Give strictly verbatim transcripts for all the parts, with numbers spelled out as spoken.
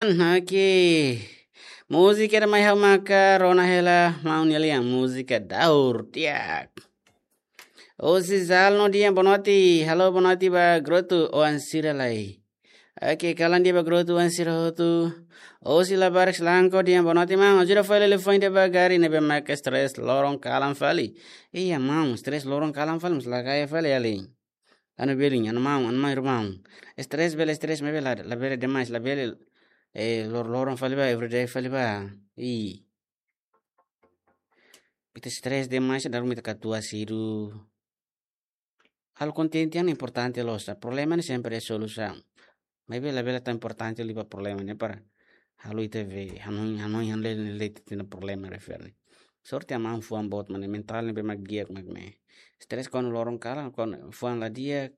Oke. Múzika ida mai ha'u maka rona hela maun nia lian, múzika daur di'ak. Husi Zalno di'ak, boa noite. Halo, boa noite ba grutu oan sira lai. Oke, kalan di'ak ba grutu oan sira hotu. Husi Labarik Selangko di'ak, boa noite maun. Ajuda fali liafuan ida ba gari ne'ebé maka stress loron kalan fali. Iya maun, stress loron kalan fali, mós la gaya fali alin. Anu belin, anu maun, anu maun, irmaun. Stress bele stress, maibé la, labele demais, labele, eh, lor-loron fali ba, everyday fali ba. I. Ita stress demais, daru ita katuas sira. Halo kontente ne'e importante loos. Problema ne'e sempre iha solusaun. Maibé labele tan importante liu ba problema ne'e para halo ita be, hanoin, hanoin, hanoin, le, le, le, ita-nia problema refere. Sorte maun fuan boot mak ne'e, mentál ne'ebé mak di'ak mak ne'e. Stress kuandu loron kalan, kuandu fuan la di'ak,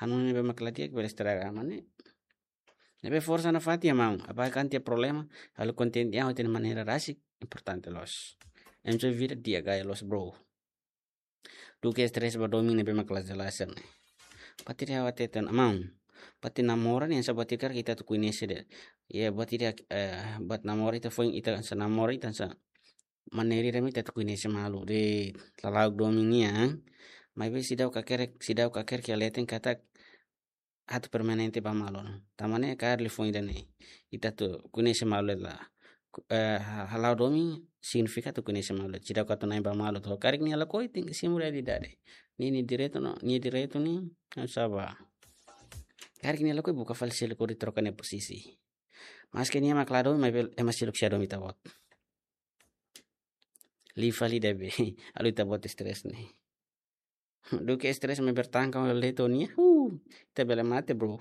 hanoin ne'ebé mak la di'ak bele estraga mak ne'e. Ne'ebé forsa nafatin maun, abaixo kan iha problema, halo kontente iha ita-nia maneira rasik, importante loos. Enjoy vida di'ak gaya loos, bro. Duké stress ba domin ne'ebé mak la jelas ne'e. Buat ida ha'u hateten maun. Buat ida namora ne'e hanesan buat ida karik ita atu koñese de'it. Ya, buat ida, eh, buat namora ita foin ita hanesan namora ita hanesan maneira ida mak ita atu koñese malu de'it. Lala'ok domin nian. Maibé seidauk hakerek, seidauk hakerek iha leten katak atu permanente ba malu. Tanba ne'e kaer liafuan ida-ne'e. Ita atu koñese malu la. Ku-, eh, ha-, hala'o domin signifika atu koñese malu. Seidauk atu na'in ba malu. To'o karik nia lakohi tenke simu realidade. Nia, nia direitu no, nia direitu ne'e, hanesan ba. Karik nia lakohi buka fali seluk hodi troka nia posisi. Maske nia mak la domin, maibé ema seluk sei domin ita-boot. Liu fali ida be. Halo ita-boot stress ne'e. Duké stress mak bertahun-tahun letonia. Huh, ita bele mate, bro.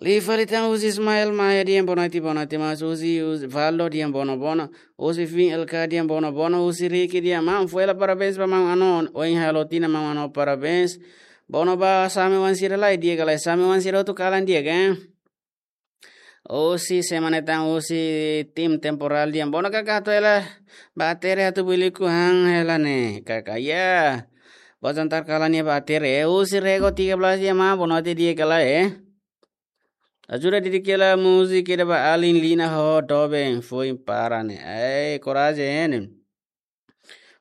Liu fali tan husi Ismael Maia di'ak, boa noite, boa noite, mas husi, husi Valdo di'ak, boa noite, boa noite. Husi Fin L K di'ak, boa noite, boa noite. Husi Ricky di'ak, maun, fó hela parabéns ba maun Ano. Ohin halo tinan maun Ano, parabéns. Boa noite ba Same wan sira lai, di'ak ka lae, Same wan sira hotu kalan di'ak, eh? Husi semana tan husi tim temporal di'ak. Boa noite kaka, atu hela ba Tere atu buliku han hela ne'e. Kaka, ya. Boa jantar kalan iha ba Tere. Eh, husi Rego tiga belas di'ak maun, boa noite, di'ak ka lae, eh? Ajuda dedika hela múzika ida ba alin Lina ho doben foin para ne'e. Ai, korajen, hein.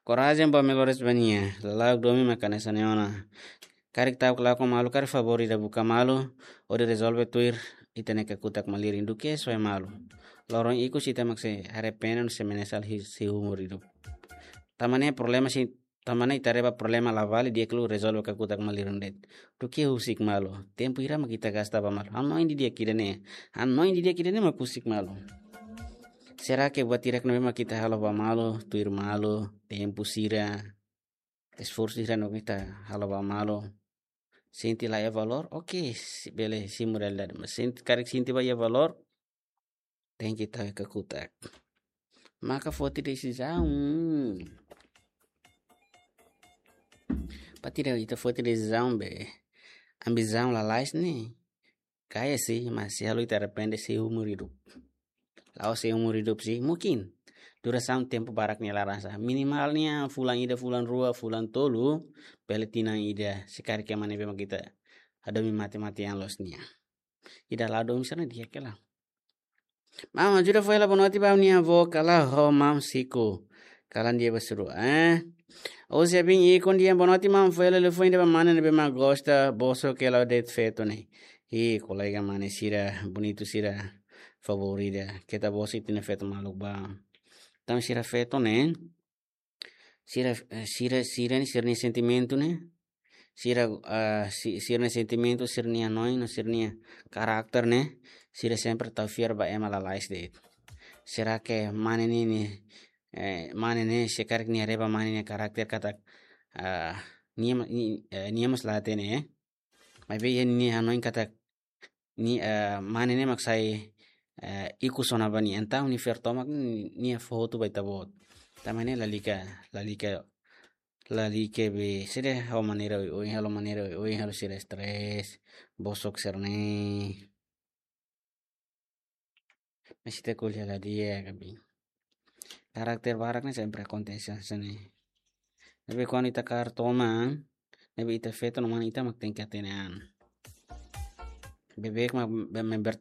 Korajen ba melhores ba nia. Lala'ok domin mak hanesan ne'e ona. Karik ta'uk lakon malu, karik favór ida buka malu, hodi rezolve tuir ita-nia kakutak malirin, duké soe malu. Loron ikus ita mak sei arrepende no sei menyesal hi-, seumur hidup. Tanba ne'e problema sei, tanba ne'e ita haree ba problema la vale, di'ak liu rezolve kakutak malirin de'it. Duké husik malu. Tempu hira mak ita gasta ba malu. Hanoin didi'ak ida-ne'e. Hanoin didi'ak ida-ne'e mak husik malu. Será que buat hirak ne'ebé mak ita halo ba malu, tuir malu, tempu sira, esforsu sira ne'ebé ita halo ba malu, sente la iha valór? Oke, se-, bele simu realidade. Mas sente, karik sente ba iha valór, tenke tau iha kakutak. Maka foti desizaun. Buat ida ita foti desizaun be ambisaun lalais ne'e. Kaer sih, mas sei halo ita arrepende seumur hidup. La'ós seumur hidup sih, mungkin. Durasaun tempu barak nia laran sá. Minimal nia fulan ida, fulan rua, fulan tolu, bele tinan ida, se karik ema ne'ebé mak ita hadomi mate-matean loos nia. Ida la domin sira-ne'e di'ak hela. Maun, ajuda fó hela boa noite ba ha'u-nia avó, kala ho maun Siko. Kalan di'ak ba sira, eh? Husi Abin Ikon di'ak, boa noite maun, fó hela liafuan ida ba mane ne'ebé mak gosta, bosok hela de'it feto ne'e. Ih, kolega mane sira, bonitu sira, favór ida. Keta bosok ita-nia feto maluk ba. Tanba sira feto ne'e, sira, eh, sira, sira-ne'e, sira-nia sentimentu ne'e. Sira, ah, si-, sira-nia sentimentu, sira-nia hanoin, no sira-nia karakter ne'e. Sira sempre tau fiar ba ema lalais de'it. Será que mane ne'e, ne'e, eh, mane ne'e, se karik nia haree ba mane nia karakter katak, ah, nia ma-, ni-, eh, nia mós la hatene, eh? Maibé iha nia hanoin katak ni, eh, mane ne'e mak sai, eh, ikus ona ba nia. Entaun nia fiar tomak ni-, nia fó hotu ba ita-boot. Tanba ne'e lalika, lalika, lalika be, sede halo maneira oioin, halo maneira oioin, halo sira stress, bosok sira-ne'e. Mas ita ko'alia la di'ak, Abin. Karakter barak ne'e sempre akontese hanesan ne'e. Tapi kuandu ita kaer toman, ne'ebé ita feto no mane ita mak tenke hatene an. Bebek ma be member